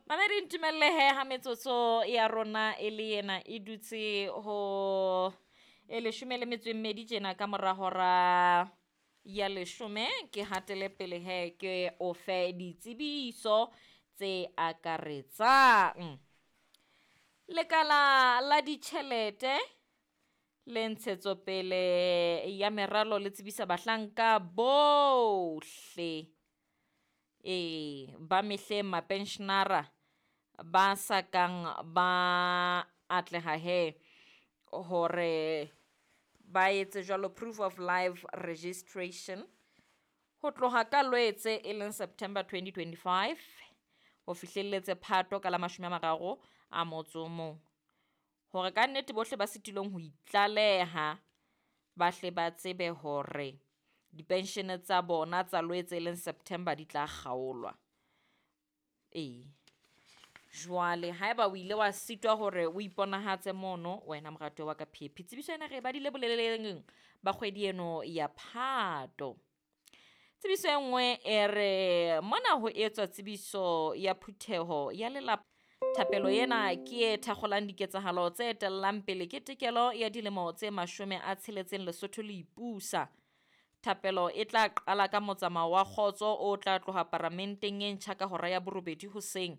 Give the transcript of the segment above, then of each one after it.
Mamedi, ntumelle he ha metsotso ya rona e le yena e dutse ho e 12 tjena ka mora hora ya 10, ke hatele pele he ke o fe ditsebiso tse akaretsang. Lekala la ditjhelete le ntshetsopele ya meralo le tsebisa bahlanka bohle ee ba mehleng mapensionara ba sa kang ba atleha he hore ba etse jwalo proof of life registration ho tloha ka Lwetse e leng September 2025 ho fihlelletse Phato ka la 31, hore ka nnete bohle ba sitilweng ho itlaleha ba hle ba tsebe hore dipenshene tsa bona tsa Lwetse e leng September di tla kgaolwa. Ee, jwale haeba o ile wa sitwa hore o iponahatse mono wena moratuwa wa ka Phephi, tsebiso ena re e badile boleleleng ba kgwedi eno ya Phato. Tsebiso e nngwe e re mona ho etswa tsebiso ya phutheho ya lelapa. Thapelo ena ke e thakgolang diketsahalo tse etellang pele ketekelo ya dilemo tse 60 Lesotho le ipusa. Thapelo e tla qala ka motsamao wa kgotso o tla tloha paramenteng e ntjha ka hora ya 8 hoseng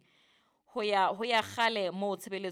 ho ya ho ya kgale moo tshebeletso.